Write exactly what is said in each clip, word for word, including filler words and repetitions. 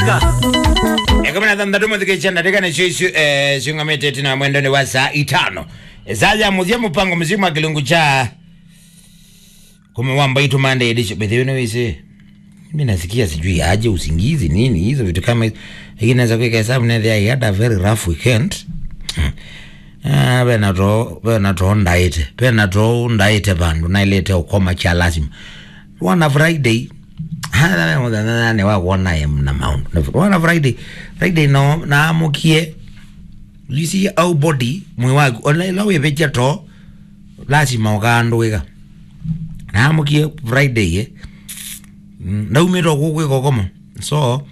Ĩkũmi na thanthatũ mũthikĩĩsya ndatĩka nĩsyo isu, eh, syũngamĩte ĩtina wa mwendonĩ wa saa itano. Saa ya mũthya mũpango mzima kĩlungu kya kũme wa mbaitũ Monday edition. By the way, nĩwĩsĩ, mimi nasikia sijui aje usingizi nini, hizo vitu kama hizo. Lakini naweza kuweka hesabu na I had a very rough weekend. Ah, vena too, vena too ndaĩte. Vena too ndaĩte vandũ, naĩlĩte ũkoma kya lazima. Wana Friday, hana mũthenya nĩ wa kuona em na maũndũ. Wana Friday, Friday no, naamũkie, you see our body, mwĩĩ waku, ona ĩla wĩvĩkya too, lazima ũkaandũĩka. Naamũkie Friday, eh. Mm, ndaumĩte o kũu kwĩka ũkomo. So,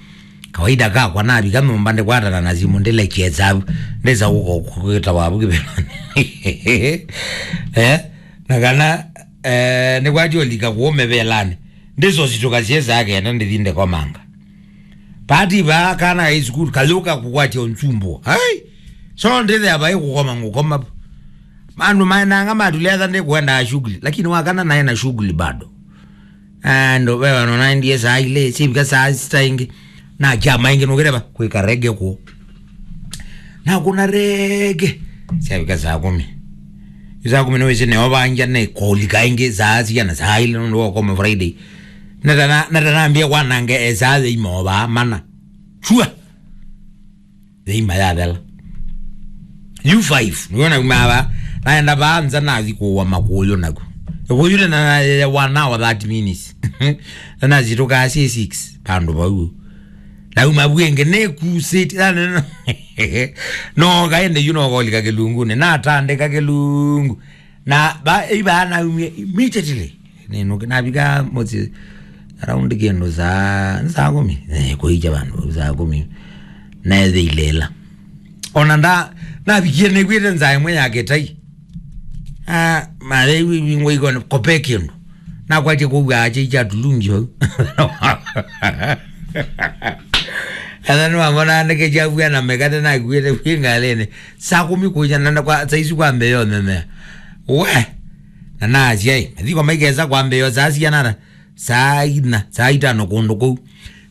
kawaida kakwa navika nyũmba ndikwatana na simũ, ndilekye savu. Ndĩsa gũka kwĩta wavu kĩvelani. Eh? Na kana, eh, nĩkwatya ũlika kũũme velani. Ndĩsositũka syĩ saa kenda ndithi ndikomanga. Pati vaa kana high school, kayũka kũkwatya ũnsumbũa. Ai! So ndĩthea vai kũkoma ngũkoma. Mandu maenanga matuletha ndĩkwendaa shughuli. Lakini wakana nae na shughuli bado. Ando wewe no naendie saa ile, sivika saa sita ingi. Na kya maingi nukireva kwika rege ku. Na kuna rege. Sivika saa kumi. Saa kumi no isi neo vanja ne kolika ingi saa sia na saa ile no koma Friday. Natana, natanambia kwanange e saa imo ba mana. Chua. Thĩima yathela. U five, nĩwona uma ava, naenda vaa nza nathi kũũa makũyũ naku. Kũyũ na, na, na one hour, thirty minutes. Na nasitũkaa syĩ six, vandũ vau. Nauma vu ĩngĩ, nĩkusĩti, yani, no, no, kaende yu no kolika kĩlungunĩ, natandĩka kĩlungu. Na ba, ĩvaa naumie immediately. Nĩnũke, navika mũsyĩ around kĩndũ saa, saa kũmi. Eh, kũikya vandũ vau saa kũmi. Neethĩile ĩla. Ona nda, navikie nĩkwĩte nzaa ĩmwe ya kĩtai. Ah, mathei wingwa ikone, kope kĩndũ. Nakwatie kũu ache icha tulungi vau. Ethwa nĩwamona nĩkĩkyavua na mĩkate nakuĩte kwĩ ngalĩnĩ. Saa kũmi kũicha na kwa, saa isu kwambĩĩa ũmemea. We! Na naasya, ĩ, mathiko maikesa kwambĩĩa saa sianana, saa ina, saa itano kũndũ kũu.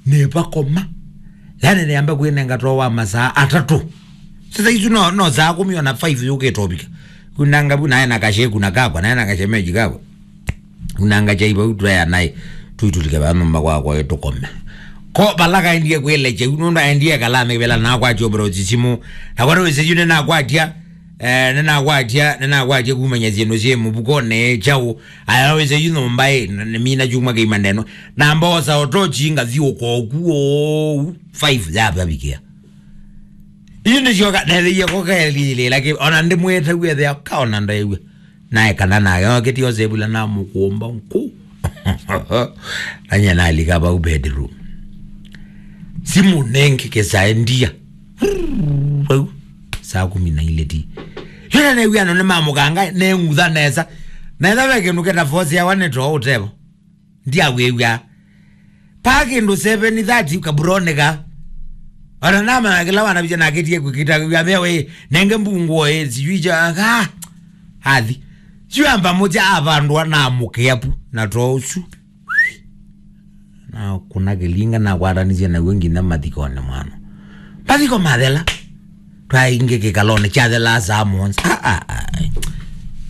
Nĩvakoma. Yani nĩamba kwĩnenga too wa masaa atatũ. Sasa isu no, no saa kũmi ona five yũkĩte ũvika. Kunanga vu nae na kasheku na kakwa, nae na kashemeji kakwa. Unanga chai vau twea naĩ, tũitũlike vaa nyũmba kwakwa tũkome. Ko vala kaendie kwĩle cheu, nũndũ aendie kala amĩvela na akwatya ũvĩla ũsisimu. Na kwa wĩsĩ yu nĩnakwatya, eh, nĩnakwatya, nĩnakwatya kumanya syĩndũ syĩ mũvukonĩ kyaũ. Aya wĩsĩ yu nyũmba ĩ, na, nĩmina kyumwa kĩima ndeno. Na mbosa otochi ngathiũka oku ũu, five yavavikĩa. Yu nĩsyoka, netheie kokaelilĩla kĩ, ona ndĩmwĩtaw'e thea, kaona ndaew'a. Naekana nake, okĩtie osevula na mũkũmba nkũ. Nanye nalika vau bedroom. Simu nengĩ kĩsae ndia. Vau, saa kũmi na ilĩ ti. Yona newia no nĩ mamũkanga, neng'utha nesa. Nesa ve kĩndũ kĩta force yawa nĩ too ũtevo. Ndiawĩw'a. Pa kĩndũ seven thirty kaburoneka. Ona namanya kĩla wanavitya nakĩtie kwĩkĩta wĩa mea we, nenge mbunguo ĩ, sijui cha, ah, athi. Sio amba mũtya avandwa na mũkĩa pu, na too ũsu. Na kuna kĩlinga na kwatanisye na wengine mathikone mwana. Mathiko mathela. Twaingĩ kĩkalonĩ kyathelaa saa mũonza. Ah, ah, ah.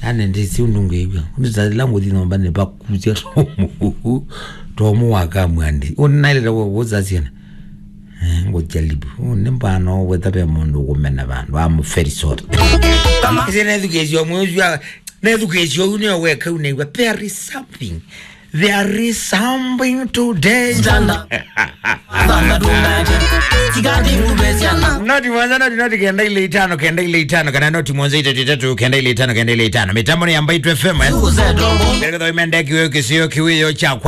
Yani ndĩsĩ ũndũ ngĩĩw'a. Ndĩtathela ngũthi nyũmba nĩvakusya tomu. Tomu wa kamwandi. Ũnĩ naĩlĩte kũsa syana. Eh, ngũjaribu. Ũnĩ mbano wetha ve mũndũ ũkũmena vandũ. I'm very sorry. Ĩsĩ nethukĩĩsyo mwĩũsya. Nethukĩĩsyo ũu nĩyo weka ũnĩw'a. There is something. There is something today. Noti mwanza, noti, noti kenda ile itano, kenda ile itano, kana noti mwanza itatu, itatu, kenda ile itano, kenda ile itano. Mitambo ni ya Mbaitu F M, eh? Ngetha imendeki wewe kisio kiwiyo cha kwa